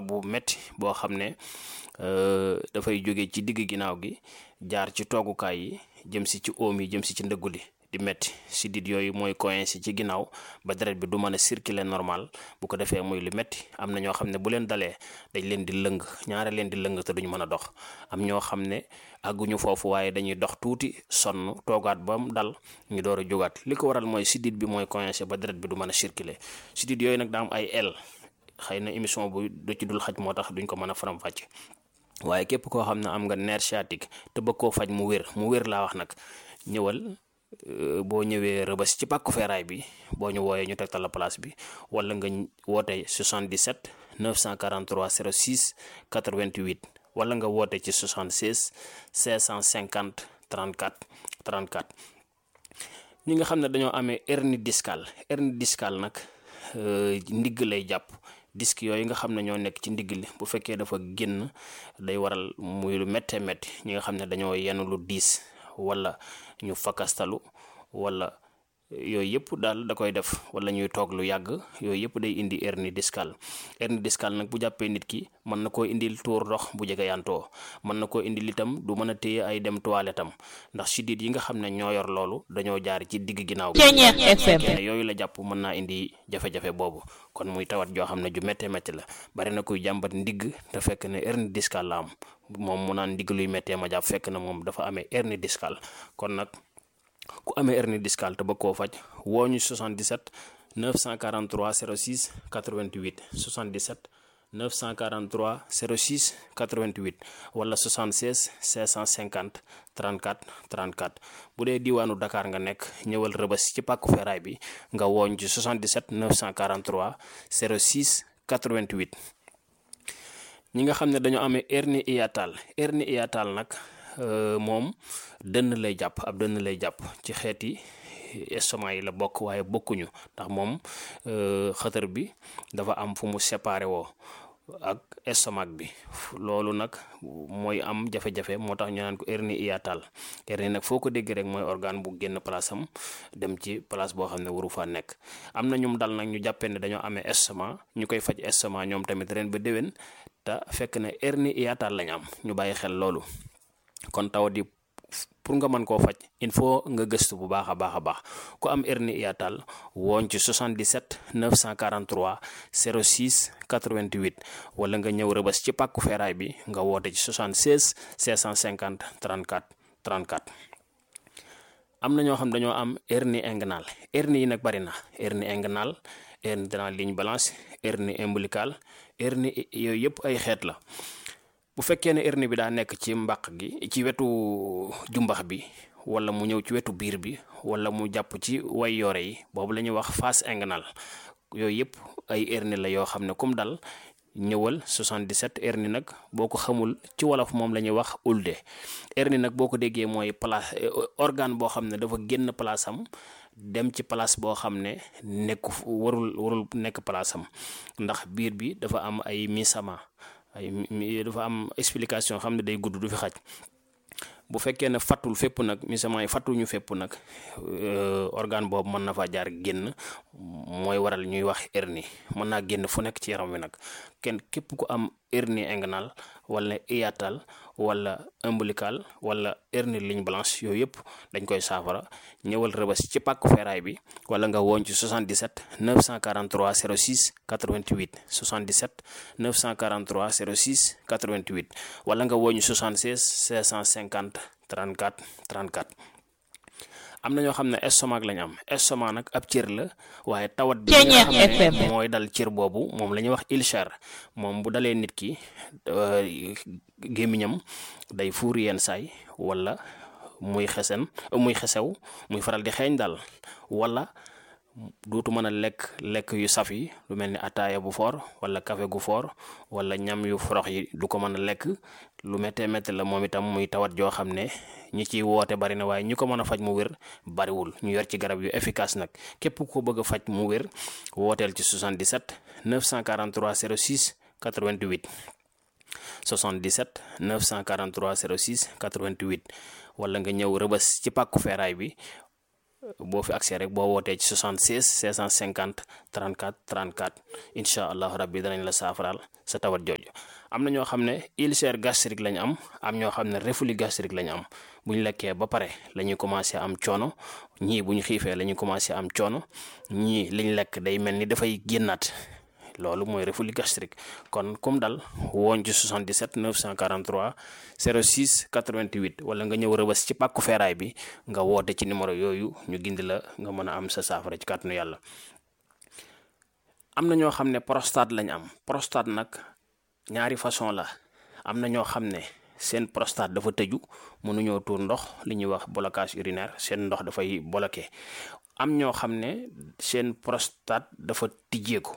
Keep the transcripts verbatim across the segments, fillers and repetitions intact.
bu metti boo xam ne dafay jóge ci digg ginnaaw gi jaar ci toogukaay yi jëm si ci oom yi jëm si ci ndëggu li di metti sidit yooyu mooy coincé ci ginnaaw ba deret bi du mën a circuler normal bu ko defee muy lu metti am na ñoo xam ne bu leen dalee dañ leen di lëng ñaare leen di lëng te duñu mën a dox am ñoo xam ne àgguñu foofu waaye dañuy dox tuuti sonn toogaat ba mu dal ñu door a jógaat li ko waral mooy sidit bi mooy coincé ba deret bi du mën a circuler sidit yooyu nag daa am ay el xëy na émission bu du ci dul xaj moo tax duñ ko mën a faram-fàcce waaye képp koo xam ne am nga nerf sciatique te bëgg koo faj mu wér mu wér laa wax nag ñëwal boo ñëwee Rëbës ci pàkku feeraay bi boo ñu wooyee ñu tegtal la place bi wala nga woote soixante-dix-sept neuf cent quarante-trois zéro six quatre-vingt-huit wala nga woote ci soixante-seize cinq cent cinquante trente-quatre trente-quatre ñi nga xam ne dañoo amee hernie discale hernie discale nag ndigg lay jàpp disque yooyu nga xam ne ñoo nekk ci ndigg li bu fekkee dafa génn day waral muy lu méttee métti ñi nga xam ne dañoo yenu lu diis wala ñu fakastalu wala yooyu yëpp daal da koy def wala ñuy toog lu yàgg yooyu yëpp day indi hernie discale hernie discale nag bu jàppee nit ki mën na koo indil tuur ndox bu jege yantoo mën na koo indil itam du mën a téye ay dem toilette am ndax sidit yi nga xam ne ñoo yor loolu dañoo jaar ci digg ginnaaw gi yooyu la jàpp mën naa indi jafe-jafe boobu kon muy tawat joo xam ne ju méttee métti la bari na kuy jàmbat ndigg te fekk ne hernie discale la am moom mu naan ndigg luy méttee ma jàpp fekk na moom dafa amee hernie discale kon nag ku amee hernie discale te bëgg koo faj woo ñu soixante-dix-sept neuf cent quarante-trois zéro six quatre-vingt-huit soixante-dix-sept neuf cent quarante-trois zéro six quatre-vingt-huit wala soixante-seize cinq cent cinquante trente-quatre trente-quatre bu dee diwaanu Dakar nga nekk ñëwal Rëbës ci pàkku feeraay bi nga wooñ ci soixante-dix-sept neuf cent quarante-trois zéro six quatre-vingt-huit ñi nga xam ne dañoo amee hernie hiatale hernie hiatale nag moom dënn lay jàpp ab dënn lay jàpp ci xeeti estomac yi la bokk waaye bokkuñu ndax moom xëtër bi dafa am fu mu séparé woo ak estomac bi loolu nag mooy am jafe-jafe moo tax ñu naan ko hernie hiatale hernie nag foo ko dégg rek mooy organe bu génn place am dem ci place boo xam ne waru faa nekk am na ñum dal nag ñu jàppee ne dañoo amee estomac ñu koy faj estomac ñoom tamit ren ba déwén te fekk ne hernie hiatale lañ am ñu bàyyi xel loolu kon tawat yi pour nga mën koo faj il faut nga gëstu bu baax a baax a baax ku am hernie hiatale woon ci soixante-dix-sept neuf cent quarante-trois zéro six quatre-vingt-huit wala nga ñëw Rëbës ci pàkku feeraay bi nga woote ci soixante-seize cinq cent cinquante trente-quatre trente-quatre am na ñoo xam dañoo am hernie inguinale hernie yi nag bari na hernie inguinale hernie de la ligne blanche hernie ombilicale hernie yooyu yëpp ay xeet la bu fekkee ne hernie bi daa nekk ci mbàq gi ci wetu jumbax bi wala mu ñëw ci wetu biir bi wala mu jàpp ci way yore yi boobu la ñuy wax face inguinale yooyu yëpp ay hernie la yoo xam ne comme dal ñëwal soixante-dix-sept hernie nag boo ko xamul ci wolof moom la ñuy wax ulde hernie nag boo ko déggee mooy place organe boo xam ne dafa génn place am dem ci place boo xam ne nekku warul warul nekk place am ndax biir bi dafa am ay misama ay dafa am explication xam ne day gudd du fi xaj bu fekkee ne fattul fépp nag misament yi fattuñu fépp nag organe boobu mën na faa jaar génn mooy waral ñuy wax hernie mën naa génn fu nekk ci yaram wi nag kenn képp ku am hernie inguinale wala hiatale wala ombilical wala hernie ligne blanche yooyu yëpp dañ koy saafara ñëwal Rëbës ci pàkku feeraay bi wala nga woon ci soixante-dix-sept neuf cent quarante-trois zéro six quatre-vingt-huit soixante-dix-sept neuf cent quarante-trois zéro six quatre-vingt-huit wala nga woon ci soixante-seize cinq cent cinquante trente-quatre trente-quatre am na ñoo xam ne estomac lañ am estomac nag ab cër la waaye tawat bi nga xam ne mooy dal cër boobu moom la ñuy wax ulcère moom bu dalee nit ki gémmiñam day fuur yenn saay wala muy xesen muy xesew muy faral di xeeñ daal wala dootu mën a lekk lekk yu saf yi lu mel ni ataaya bu foor wala café gu foor wala ñam yu forox yi du ko mën a lekk lu méttee métti la moom itam muy tawat joo xam ne ñi ciy woote bari na waaye ñi ko mën a faj mu wér bariwul ñu yor ci garab yu efficace nag képp ko bëgg a faj mu wér wooteel ci soixante-dix-sept neuf cent quarante-trois zéro six quatre-vingt-huit soixante-dix-sept neuf cent quarante-trois zéro six quatre-vingt-huit wala nga ñëw Rëbës ci pàkku feeraay bi boo fi accès rek boo wootee ci soixante-seize cinq cent cinquante trente-quatre trente-quatre incha allah rabbi danañ la saafaraal sa tawat jooju. am na ñoo xam ne ulcère gastrique lañ am am ñoo xam ne reflux gastrique lañ am bu ñu lekkee ba pare la ñuy commencé am coono ñii bu ñu xiifee la ñuy commencé am coono ñii liñ lekk day mel ni dafay génnaat. loolu mooy reflux gastrique kon comme dal woon ci soixante-dix-sept neuf cent quarante-trois zéro six quatre-vingt-huit wala nga ñëw Rëbës ci pàkku feeraay bi nga woote ci numéro yooyu ñu gindi la nga mën a am sa saafara ci kàttanu yàlla. am na ñoo xam ne prostate lañ am prostate nag ñaari façon la am na ñoo xam ne seen prostate dafa tëju mënuñoo tuur ndox li ñuy wax blocage urinaire seen ndox dafay bloqué am ñoo xam ne seen prostate dafa tijjeeku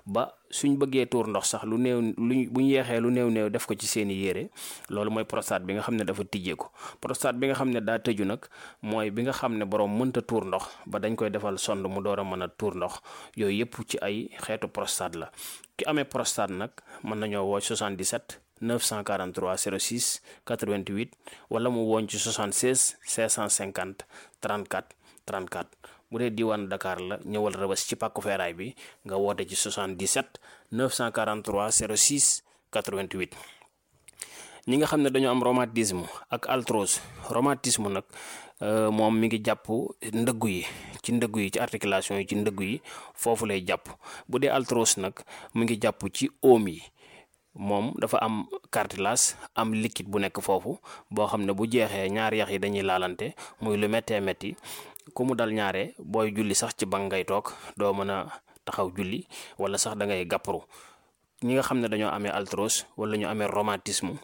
ba suñ bëggee tuur ndox sax lu néew luñ buñ yeexee lu néew néew def ko ci seeni yére loolu mooy prostate bi nga xam ne dafa tijjeeku. prostate bi nga xam ne daa tëju nag mooy bi nga xam ne borom mënta tuur ndox ba dañ koy defal sonde mu door a mën a tuur ndox yooyu yëpp ci ay xeetu prostate la. ki amee prostate nag mën nañoo woo soixante-dix-sept neuf cent quarante-trois zéro six quatre-vingt-huit wala mu wooñ ci soixante-seize cinq cent cinquante trente-quatre trente-quatre. bu dee diwaan Dakar la ñëwal Rëbës ci pàkku feeraay bi nga woote ci soixante-dix-sept neuf cent quarante-trois zéro six quatre-vingt-huit. ñi nga xam ne dañoo am rhumatisme ak arthrose rhumatisme nag moom mi ngi jàpp ndëggu yi ci ndëggu yi ci articulation yi ci ndëggu yi foofu lay jàpp. bu dee arthrose nag mi ngi jàpp ci oom yi moom dafa am cartilage am liquide bu nekk foofu boo xam ne bu jeexee ñaari yax yi dañuy laalante muy lu méttee métti. ku mu dal ñaare booy julli sax ci bank ngay toog doo mën a taxaw julli wala sax da ngay gàpparu. ñi nga xam ne dañoo amee arthrose wala ñu amee rhumatisme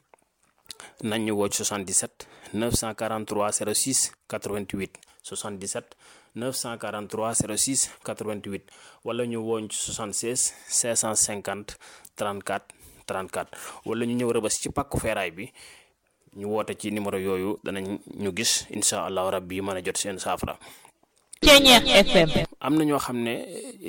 nañ ñu woo ci soixante-dix-sept neuf cent quarante-trois zéro six quatre-vingt-huit soixante-dix-sept neuf cent quarante-trois zéro six quatre-vingt-huit wala ñu woo ci soixante-seize cinq cent cinquante trente-quatre trente-quatre wala ñu ñëw Rëbës ci pàkku feeraay bi. ñu woote ci numéro yooyu danañ ñu gis incha allahu rabbi mën a jot seen saafara. Ceeñeex F M. am na ñoo xam ne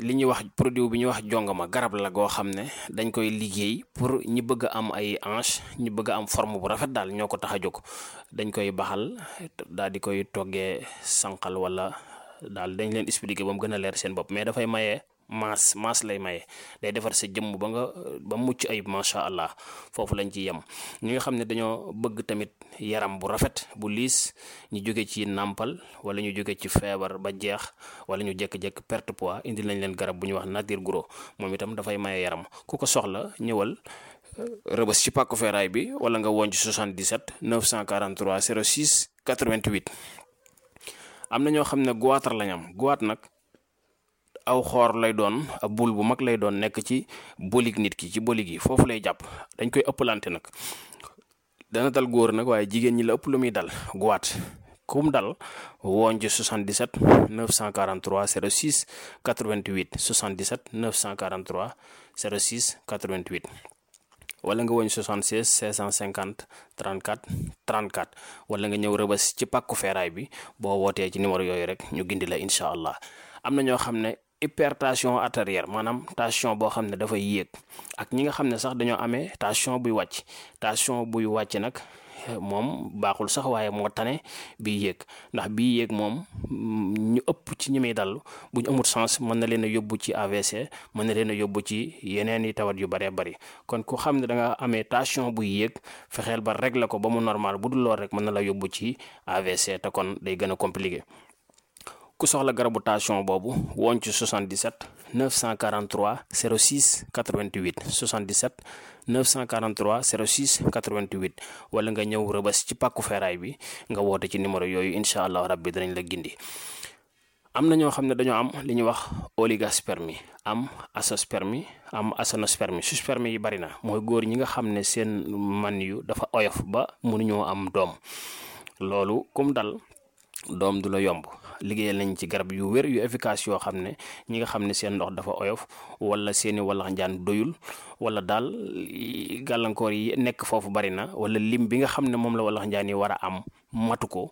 li ñuy wax produit bi ñuy wax jongama garab la goo xam ne dañ koy liggéey pour ñi bëgg a am ay hanche ñi bëgg a am forme bu rafet daal ñoo ko tax a jóg dañ koy baxal daal di koy toggee sànqal wala daal dañ leen expliquer ba mu gën a leer seen bopp mais dafay maye. maas maas lay maye day defar sa jëmm ba nga ba mucc ayib macha allah foofu lañ ci yem. ñi nga xam ne dañoo bëgg tamit yaram bu rafet bu liis ñu jóge ci nàmpal wala ñu jóge ci feebar ba jeex wala ñu jékki-jékki perte poids indi lañ leen garab bu ñuy wax nature gros moom itam dafay maye yaram ku ko soxla ñëwal Rëbës ci pàkku feeraay bi wala nga woon ci soixante-dix-sept neuf cent quarante-trois zéro six quatre-vingt-huit. am na ñoo xam ne goitre lañ am goitre nag. aw xoor lay doon ab bul bu mag lay doon nekk ci bolig nit ki ci bolig yi foofu lay jàpp dañ koy ëppalante nag dana dal góor nag waaye jigéen ñi la ëpp lu muy dal goitre kum dal woon ci soixante-dix-sept neuf cent quarante-trois zéro six quatre-vingt-huit soixante-dix-sept neuf cent quarante-trois zéro six quatre-vingt-huit wala nga woñ soixante-seize cinq cent cinquante trente-quatre trente-quatre wala nga ñëw Rëbës ci pàkku feeraay bi boo wootee ci numéro yooyu rek ñu gindi la incha allah. am na ñoo xam ne hypertension artérielle maanaam tension boo xam ne dafay yéeg ak ñi nga xam ne sax dañoo amee tension buy wàcc tension buy wàcc nag moom baaxul sax waaye moo tane bii yéeg ndax bii yéeg moom ñu ëpp ci ñi muy dal bu ñu amul sens mën na leen a yóbbu ci A V C mën na leen a yóbbu ci yeneen i tawat yu bëree bëri kon ku xam ne da nga amee tension buy yéeg fexeel ba régler ko ba mu normal bu dul lool rek mën na la yóbbu ci A V C te kon day gën a compliqué. ku soxla garabu tension boobu woon ci soixante-dix-sept neuf cent quarante-trois zéro six quatre-vingt-huit soixante-dix-sept neuf cent quarante-trois zéro six quatre-vingt-huit wala nga ñëw Rëbës ci pàkku feeraay bi nga woote ci numéro yooyu incha allah rabbi danañ la gindi. am na ñoo xam ne dañoo am li ñuy wax oligospermie am azoospermie am aténospermie sperme yi bari na mooy góor ñi nga xam ne seen man yu dafa oyof ba mënuñoo am doom loolu kum dal doom du la yomb. liggéeyal nañ ci garab yu wér yu efficace yoo xam ne ñi nga xam ne seen ndox dafa oyof wala seeni walax njaan doyul wala daal gàllankoor yi nekk foofu bari na wala lim bi nga xam ne moom la walax njaan yi war a am matu ko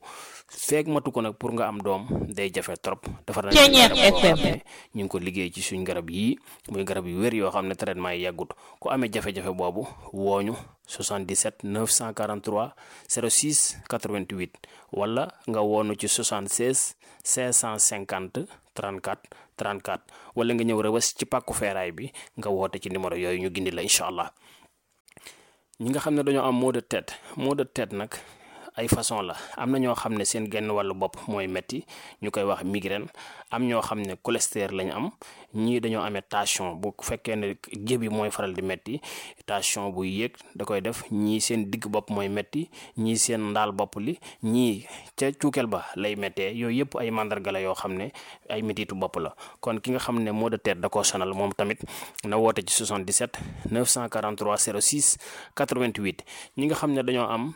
feeg matu ko nag pour nga am doom day jafe trop. dafa nañ garab yoo xam ne ñu ngi ko liggéey ci suñ garab yii muy garab yu wér yoo xam ne traitement yi yàggut ku amee jafe-jafe boobu wooñu soixante-dix-sept neuf cent quarante-trois zéro six quatre-vingt-huit wala nga woonu ci soixante-seize cinq cent cinquante trente-quatre trente-quatre wala nga ñëw Rebeuss ci pàkku feeraay bi nga woote ci numéro yooyu ñu gindi la incha allah. ñi nga xam ne dañoo am maux de tête maux de tête nag ay façon la am na ñoo xam ne seen genn wàllu bopp mooy metti ñu koy wax migraine am ñoo xam ne cholestérol lañu am ñii dañoo amee tension bu fekkee ne jébi mooy faral di metti tension bu yéeg da koy def ñii seen digg bopp mooy metti ñii seen ndaal bopp li ñii ca cuukeel ba lay méttee yooyu yëpp ay mandarga la yoo xam ne ay mettitu bopp la kon ki nga xam ne maux de tête da koo sonal moom tamit na woote ci soixante-dix-sept neuf cent quarante-trois zéro six quatre-vingt-huit ñi nga xam ne dañoo am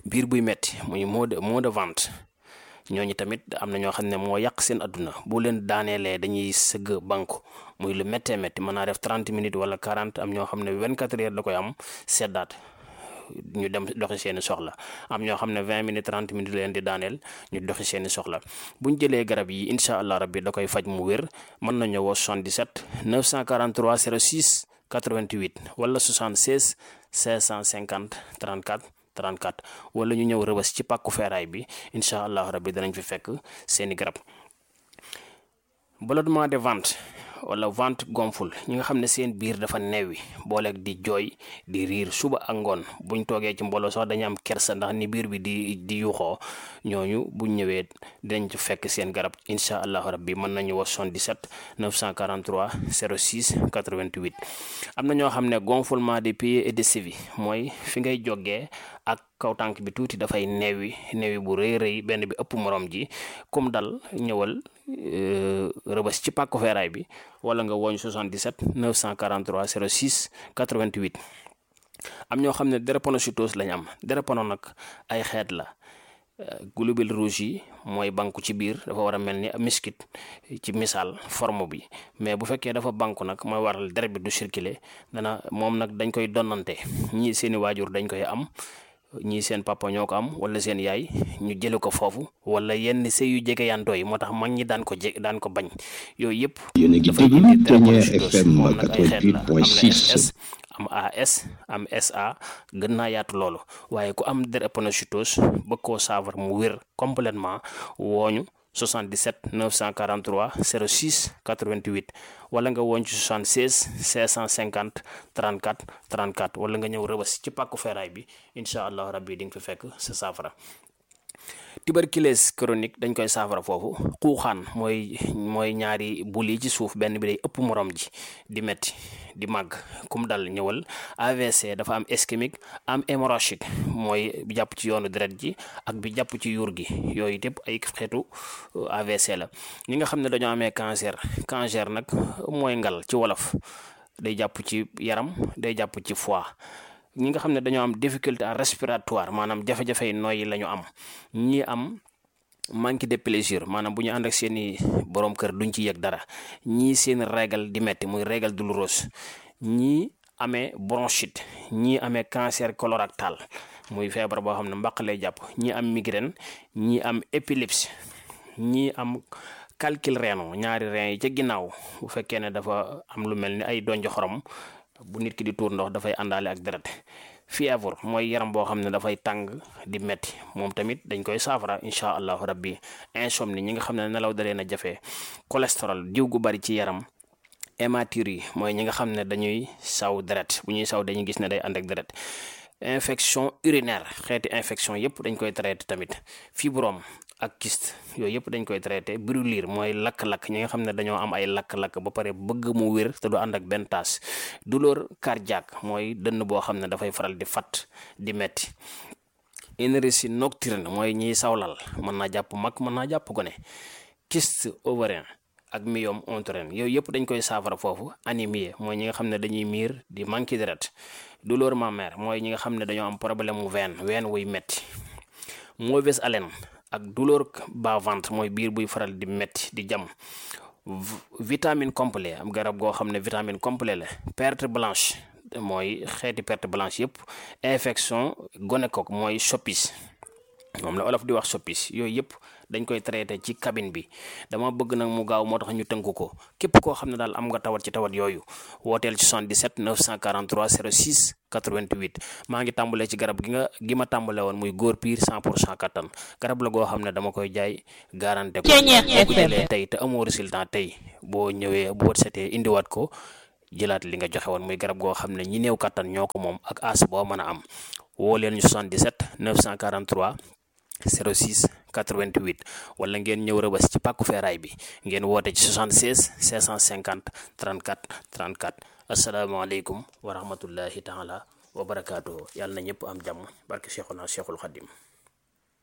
biir buy metti muy mot de mot de ventre ñooñu tamit am na ñoo xam ne moo yàq seen adduna bu leen daaneelee dañuy sëgg banku muy lu méttee métti mën naa def trente minutes wala quarante am ñoo xam ne vingt-quatre heures da koy am seddaat ñu dem doxi seeni soxla am ñoo xam ne vingt minutes trente minutes leen di daaneel ñu doxi seeni soxla buñ jëlee garab yi incha allah rabbi da koy faj mu wér mën nañu woo soixante-dix-sept neuf cent quarante-trois zéro six quatre-vingt-huit wala soixante-seize cinq cent cinquante trente-quatre trente-quatre wala ñu ñëw Rebeuss ci pàkku feeraay bi incha allah rabbi danañ fi fekk seeni garab. ballonnement de ventre wala ventre gonfle ñi nga xam ne seen biir dafa neewi booleeg di jooy di riir suba ak ngoon buñ toogee ci mbooloo sax dañu am kersa ndax ni biir bi di di yuuxoo ñooñu buñ ñëwee dinañ ci fekk seen garab incha allah rabbi mën nañu wax soixante-dix-sept neuf cent quarante-trois zéro six quatre-vingt-huit. am na ñoo xam ne gonflement des pieds et des chevilles mooy fi ngay jógee ak kaw tànk bi tuuti dafay neewi neewi bu rëy rëy benn bi ëpp morom ji comme dal ñëwal Rebeuss ci pàkku feeraay bi wala nga woñ soixante-dix-sept neuf cent quarante-trois zéro six quatre-vingt-huit. am ñoo xam ne drépanocytose lañ am drépano nag ay xeet la globules rouges yi mooy banku ci biir dafa war a mel ni miskit ci misaal forme bi mais bu fekkee dafa banku nag mooy waral deret bi du circuler dana moom nag dañ koy donnante ñii seeni waajur dañ koy am ñii seen papa ñoo ko am wala seen yaay ñu jële ko foofu wala yenn sëy yu jege yantoo yi moo tax mag ñi daan ko je daan ko bañ yooyu yëpp dafay indi drépanocytose moom nag ay xeet la am na S S am A S am S A gën naa yaatu loolu waaye ku am drépanocytose bëgg koo saafara mu wér complètement wooñu soixante-dix-sept neuf cent quarante-trois zéro six quatre-vingt-huit wala nga woon ci soixante-seize cinq cent cinquante trente-quatre trente-quatre wala nga ñëw Rebeuss ci pàkku feeraay bi incha allah rabbi di nga fi fekk sa saafara. tuberculose chronique dañ koy saafara foofu xuuxaan mooy mooy ñaari bul yi ci suuf benn bi day ëpp morom ji di metti di màgg kum dal ñëwal. A V C dafa am ischémique am hémorragique mooy bi jàpp ci yoonu deret ji ak bi jàpp ci yuur gi yooyu yëpp ay xeetu A V C la. ñi nga xam ne dañoo amee cancer cancer nag mooy ngal ci wolof day jàpp ci yaram day jàpp ci foie. ñi nga xam ne dañoo am difficulté respiratoire maanaam jafe-jafe yi nooyi la ñu am ñi am manque de plaisir maanaam bu ñu ànd ak seeni borom kër duñ ci yëg dara ñii seen régal di metti muy régal douloureuse ñii amee bronchite ñii amee cancer colorectal muy feebar boo xam ne mbaq lay jàpp ñii am migraine ñii am épilepsie ñii am calcul rénal ñaari rein yi ca ginnaaw bu fekkee ne dafa am lu mel ni ay donjo xorom bu nit ki di tuur ndox dafay àndaale ak deret. fièvre mooy yaram boo xam ne dafay tàng di metti moom tamit dañ koy saafara incha allahu rabbi. insomnie ñi nga xam ne nelaw dalee na jafe. cholestérol diw gu bari ci yaram. hématurie mooy ñi nga xam ne dañuy saw deret bu ñuy saw dañuy gis ne day ànd ak deret. infection urinaire xeeti infection yëpp dañ koy traité tamit. fibrome ak kyste yooyu yëpp dañ koy traité. brûlure mooy lakk-lakk ñi nga xam ne dañoo am ay lakk-lakk ba pare bëgg mu wér te du ànd ak benn taas. douleur cardiaque mooy dënn boo xam ne dafay faral di fat di metti. énergie nocturne mooy ñiy sawlal mën naa jàpp mag mën naa jàpp gone. kyste ovarien ak myome utérin yooyu yëpp dañ koy saafara foofu. anémie mooy ñi nga xam ne dañuy miir di manqué deret. douleur mammaire mooy ñi nga xam ne dañoo am problème mu veine veine wuy metti. mauvaise haleine ak douleur bas ventre mooy biir buy faral di metti di jam. vitamine complet am garab goo xam ne vitamine complet la. perte blanche mooy xeeti perte blanche yëpp. infection gonocoque mooy soppis moom la olof di wax soppis yooyu yëpp dañ koy traité ci cabine bi. dama bëgg nag mu gaaw moo tax ñu tënk ko képp koo xam ne daal am nga tawat ci tawat yooyu wooteel ci soixante-dix-sept neuf cent quarante-trois zéro six quatre-vingt-huit maa ngi tàmbalee ci garab gi nga gi ma tàmbale woon muy góor piir cent pour cent kattan garab la goo xam ne dama koy jaay garanté ko boo ko jëlee tey te amoo résultat tey boo ñëwee boo setee indiwaat ko jëlaat li nga joxe woon muy garab goo xam ne ñi néew kattan ñoo ko moom ak as boo mën a am woo leen ñu soixante-dix-sept neuf cent quarante-trois zéro six quatre-vingt-huit wala ngeen ñëw Rëbës ci pàkku feeraay bi ngeen woote ci soixante-seize cinq cent cinquante trente-quatre trente-quatre asalaamaaleykum wa rahmatullahi taala wa barakaatuhu yàlla na ñëpp am jàmm barke Cheikhuna Cheikhul Khadim